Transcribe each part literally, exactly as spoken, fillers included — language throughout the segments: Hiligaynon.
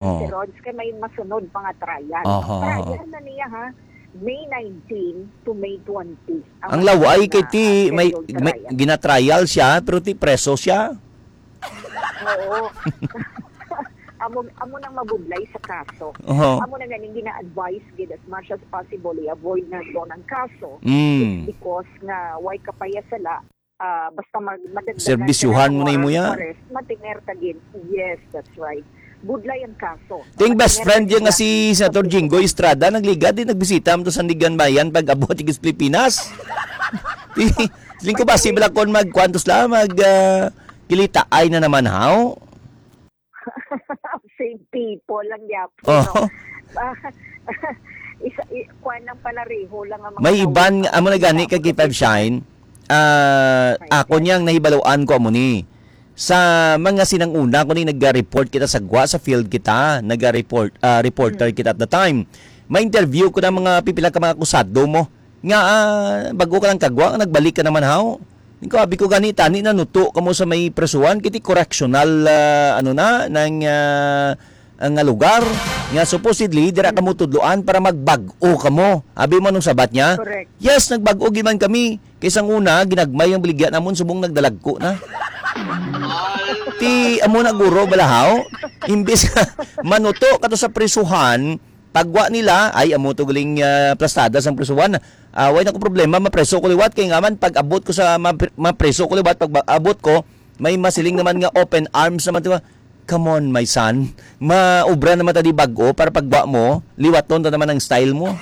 Oo. Si Rods, kay may masunod pa nga trial. Aha, aha. Trial na niya, ha? May nineteen to May twenty. Ang Ang laway kay na, ti, ah, may, scheduled may trial. Ginatrial siya, pero ti preso siya. Oo. Amo, amo nang mabudlay sa kaso. Oho. Amo na ganing gina-advise gid as much as possible, i-avoid na to ng kaso. Mm. It's because nga way ka pa ya sala, ah, basta mag-, madagdagan ka Serbisyuhan na mo na imo warrant ya. of arrest, matener ka gid. Yes, that's right. Budlay ang kaso. Ting best Matener friend ka niya nga gid. si Senator Jinggoy Estrada, nagligad din, nagbisita mo to sa Sandigan Bayan pag abot sa Pilipinas. Di, siling ko ba, si Blackon mag, kwantos lang, mag, ah, kilitaay na naman, haw? Same people lang gyapon, Oh. no? Ah, isa, i-, kwan lang pala, reho lang ang mga May tao iban, nga, amo na gani, ka K five Shine. Ah, May ako iban. niyang nahibaluan ko amo ni. Sa mga sinang una ko ni nag-report kita sa gwa, sa field kita, nag-report, ah, reporter Hmm. kita at the time. May interview ko ng mga pipila ka mga akusado mo. Nga, ah, bago ka lang kagwa, nagbalik ka naman, haw? Ning ko, abi ko gani, tani na nuto kamo sa may presuhan, kiti correctional, ah, ano na, nang, ah, nga lugar, nga supposedly, dira Hmm. kamo tudloan para magbag-o kamo. Abi mo, anong sabat niya? Correct. Yes, nagbag-o giman kami. Kay sang una, ginagmay ang baligya namon, subong nagdalagko na. Ti, amo na guro, balahaw. Imbis nga manuto ka to sa prisuhan, pagwa nila, ay, amo to galing, ah, plastada sang prisuhan. Ah, way na ko problema, mapreso ko liwat. Kay nga man, pag abot ko sa, mapre-, mapreso ko liwat, pag ba-, abot ko, may masiling naman nga open arms naman, di ba? Come on, my son. Maubra naman ta di bag-o para pagwa mo, liwaton ta naman ang style mo.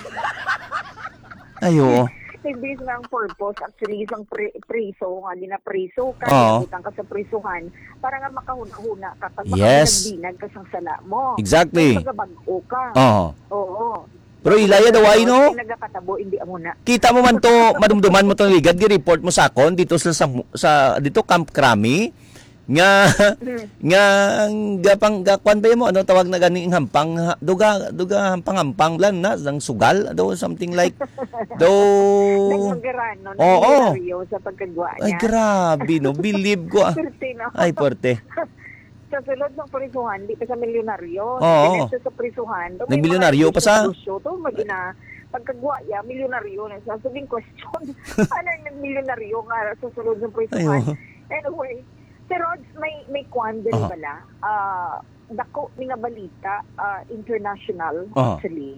Ay, oo. Imbis nga ang purpose, actually, isang pri-, priso, nga ginapriso ka, Oo. ginabutang ka sa prisuhan, para nga makahuna-huna ka, pag Yes. makabinag-binag ka sang sala mo. Exactly. Kaya magabag-o ka. Oo. Oo. Pero ilaya daw ay, no? Kaya nagakatabo, hindi amo na. Kita mo man to, madumduman mo to, ligad, gi-report mo sa akon, dito sa, sa, sa, dito, Camp Crame, nga, Hmm. nga, ang gapang, gakuan ba mo? Ano tawag na gani ang hampang? Ha-, duga, duga, hampang-hampang lang na, sang sugal, do, something like, do. Nagmagaranon, Oo. milyonaryo sa pagkagwa Ay, niya. grabe, no? Believe ko, ah. Swerte, no? Ay, puwerte. Sa sulod ng prisuhan, di pa siya milyonaryo. Oo. Nagpinit siya sa prisuhan. Daw may Nagmilyonaryo mga pa siya. negosyo to, magina-, pagkagwa niya, milyonaryo na siya. So, yung question, paano yung nagmilyonaryo nga sa sulod ng prisuhan? Ay, oo. Anyway, si Rods, may, may kwan diri Aha. bala. Ah, dako ni nga balita, ah, international, Aha. actually.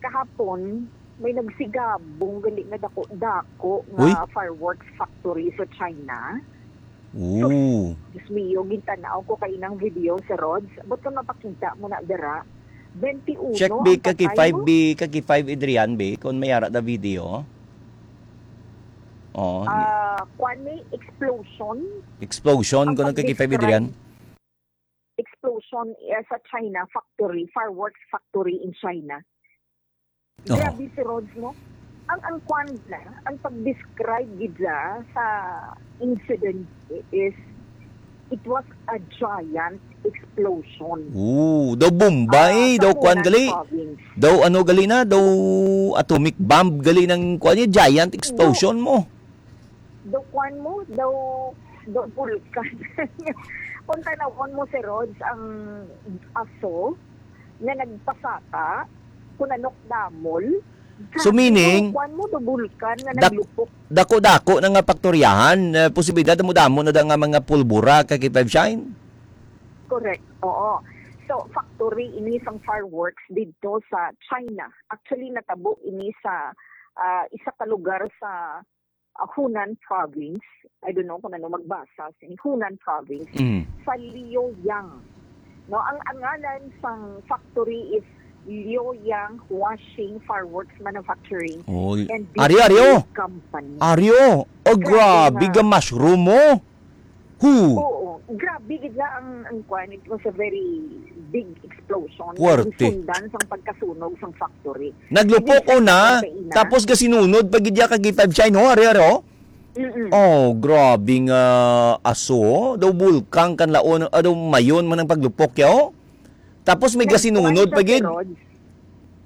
Kahapon, may nagsigabong gali nga dako-dako nga Uy. fireworks factory sa China. Ooh. Diyos mio, gintanaw ko kay inang video sa Rods. Ba't ka mapakita mo na dira? Twenty-uno Check, ang bi, kaki patay five, mo? bi, kaki five, Adrian, bi, kung may ara na video. Oh, Ah, kwan ni explosion? Explosion, Ang kung ang kaki five, pag-describe, Adrian? Explosion, eh, sa China, factory, fireworks factory in China. Oo. Grabe si Rods, no? Ang, ang kwan na, ang pag-describe gid sa, sa incident is, it was a giant explosion. Oo, daw bomba Ah, eh, sa daw kwan Hunan gali. Province. Daw ano gali na, daw atomic bomb gali ng kwan niya, giant explosion mo. Daw kwan mo, daw, daw bulkan. Kung tanawon mo si Rods, ang aso nga nagpasaka, kung anok damol, So, sabi mo, meaning, kwan mo, daw bulkan nga dak-, naglupok. dako-dako na nga paktoryahan, eh, posibilidad mo damo na da nga mga pulbura kay K five Shine? Correct, oo. So, factory ini sang fireworks didto sa China. Actually, natabo ini sa, ah, isa ka lugar sa ah, Hunan Province. I don't know kung ano magbasa sa Hunan Province, Mm. sa Liaoyang. No, ang, ang ngalan sang factory is Liaoyang Washing Fireworks Manufacturing Oh, and Aryo, Aryo. Display Company. Aryo. Oh, Grabe grabe nga. ga mushroom mo. Hu. Oo, grabe gid la ang, ang kwan. It was a very big explosion. Puwerte. Ang sundan sang pagkasunog sang factory. Naglupok Hindi siya una, kaina. tapos gasinunod pa gid ya kag K five Shine, ho, ari, ari, ho? Mm-mm. Oh, grabe nga aso, ho. Daw bulkang kan laon, ah, daw mayon man ang paglupok ya, ho. Tapos may Nagkuwan gasinunod siya pa si gid. Rod.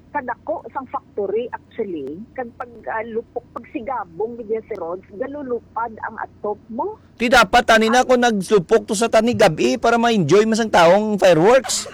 Kadako sang factory, actually, kag pag, ah, lupok, pagsigabong gid ya si Rod, galulupad ang atop mo. Ti dapat tani na kung naglupok to sa tani gab-i para ma-enjoy man sang taong fireworks.